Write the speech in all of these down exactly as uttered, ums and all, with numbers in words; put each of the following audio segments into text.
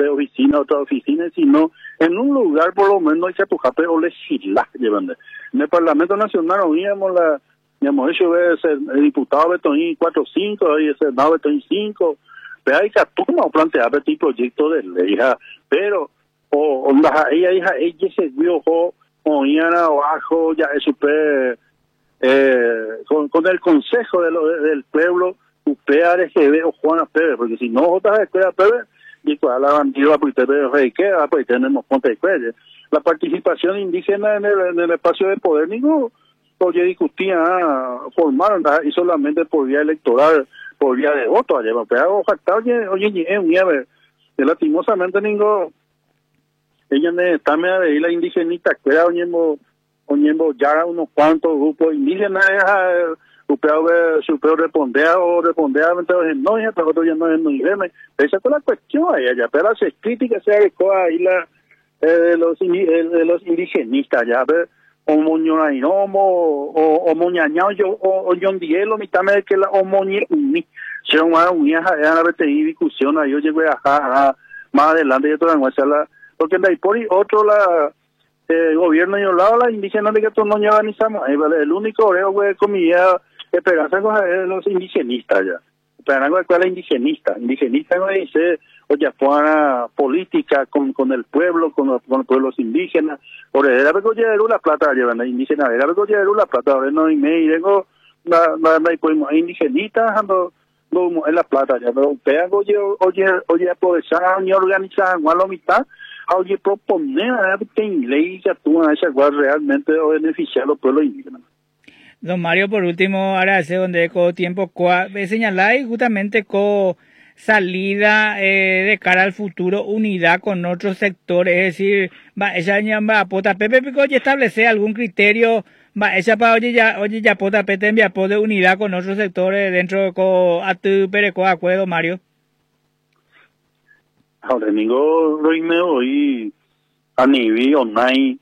Oficina, otra oficina, sino en un lugar por lo menos ikatuhápe olegisla, llevan. En el Parlamento Nacional oíamos la, digamos, eso es el diputado betoí cuatro cinco, y el Senado betoí cinco, pero hay que plantear este proyecto de ley, pero o onda ella hija ella se vio o abajo ya es super eh, con, con el consejo de lo, del pueblo U P A R G B o Juana Pérez, porque si no otra escuela Pérez y cuál la bandida pues que pues tenemos ponte la participación indígena en el, en el espacio de poder ningún oye discutía formar y solamente por vía electoral, por vía de voto allá, pero oye oye lastimosamente ningún ella está me de la indigenista que era oñembo oñembo ya unos cuantos grupos indígenas upeo supeo responder o responder entonces no ya pero otro ya no es no esa es la cuestión ahí allá, pero las críticas se adecuó ahí la eh, de los de los indigenistas ya ver o moñorainomo o o moñañao yo o o yondielo mitad me que la o moñe ni se una unía ya la discusión ahí yo llegué a más adelante yo todavía la porque de ahí por otro la eh, gobierno y un lado la indígena de que todos no organizamos el único oreo comida esperanza con los indigenistas ya esperanza con la indigenista indigenista no dice oye política con con el pueblo, con los, con los pueblos indígenas ore era la plata llevan indígena era la plata ahora no y me vengo la la la indigenista ando no en la plata ya pero pegan oye oye oye aprovechar ni organizar a la mitad oye proponer a ley que actúan esa cual realmente o beneficiar a los pueblos indígenas. Don Mario, por último, ahora hace donde con tiempo señaláis justamente con salida eh, de cara al futuro, unidad con otros sectores, es decir, va, esa va, pota pepe pico y establece algún criterio, va, esa pa oye ya, oye ya pota pete envía de unidad con otros sectores dentro de co atu pereco acuerdo, Mario. Ahora ningo roime hoy a nivel online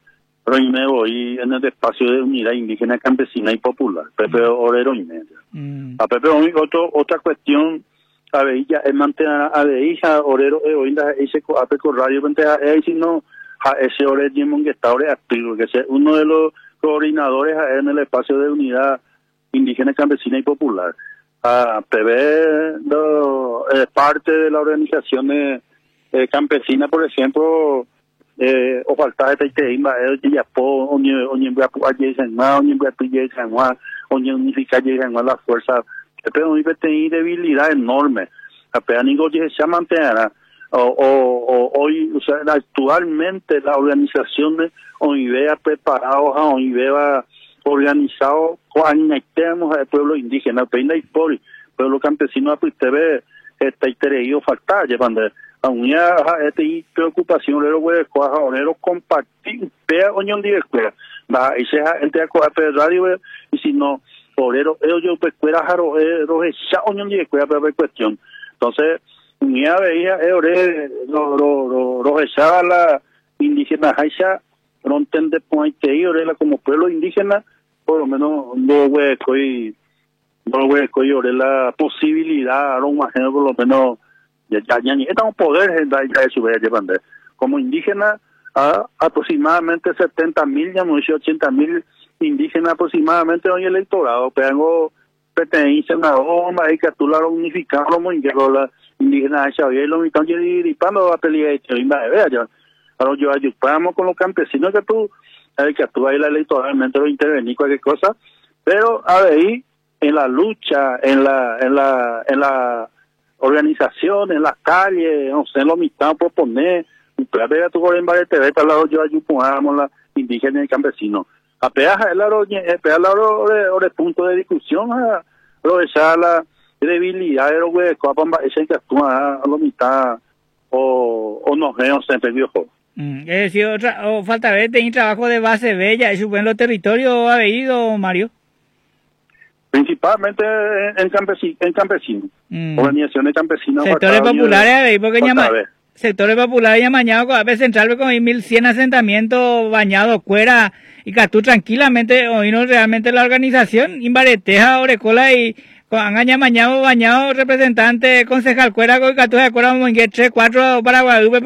roime hoy en el espacio de unidad indígena, campesina y popular, Pepe Orero y media. Mm. A Pepe otro, otra cuestión a ver ya es mantener a ver hija orero e oinda ese ape radio pente si no ese ore que está ore activo que es uno de los coordinadores en el espacio de unidad indígena, campesina y popular a P B no, eh, parte de la organización eh, campesina, por ejemplo, eh, o falta de teimba eh ya po oñe oñe oñe unificar la fuerza pero hoy debilidad enorme apenas ningo se mantenerá o, o, hoy, o sea, actualmente la organización de O I V A preparado O I V A organizado conectemos al pueblo indígena peina y por pueblo campesino usted está falta llevando a una este preocupación lero güey orero compartir vea oñón de escuela va y sea gente a radio y si no obrero ellos pues fuera jaro roja oñón de escuela pero cuestión entonces ni veía ore ro ro ro la indígena haisha no entiende point ore la como pueblo indígena por lo menos no hueco y no hueco y ore la posibilidad no por lo menos ya ya ya estamos poder ya eso llevando como indígena a aproximadamente setenta mil, ya ochenta mil indígenas aproximadamente hoy electorado, pero pertenecen a Roma y que tú la unificaron muy la indígena de lo mitad y a pelear y vea ahora yo ayudamos con los campesinos que tú que tú ahí la electoralmente lo intervenir cualquier cosa, pero a ver en la lucha, en la en la en la organización, en las calles, no sé, lo mitad proponer ver tu en varias T V para yo ayudamos la indígena y campesino a peaja el oro punto de discusión lo esa la debilidad de los ese que actúa a lo mitad o o no no se viejo. Mm, es decir, otra, o falta ver, tener trabajo de base bella, eso en los territorios ha ido, Mario. Principalmente en, campesino, en campesino, mm. organizaciones campesinas. Sectores populares, porque llama, sectores populares ya mañana, a veces central con mil cien asentamientos bañados, cuera, y que tú tranquilamente, hoy no realmente la organización, imbareteja, orecola y con mañana bañado representante concejal cuera con que tú de acuerdo tres cuatro para Guadalupe.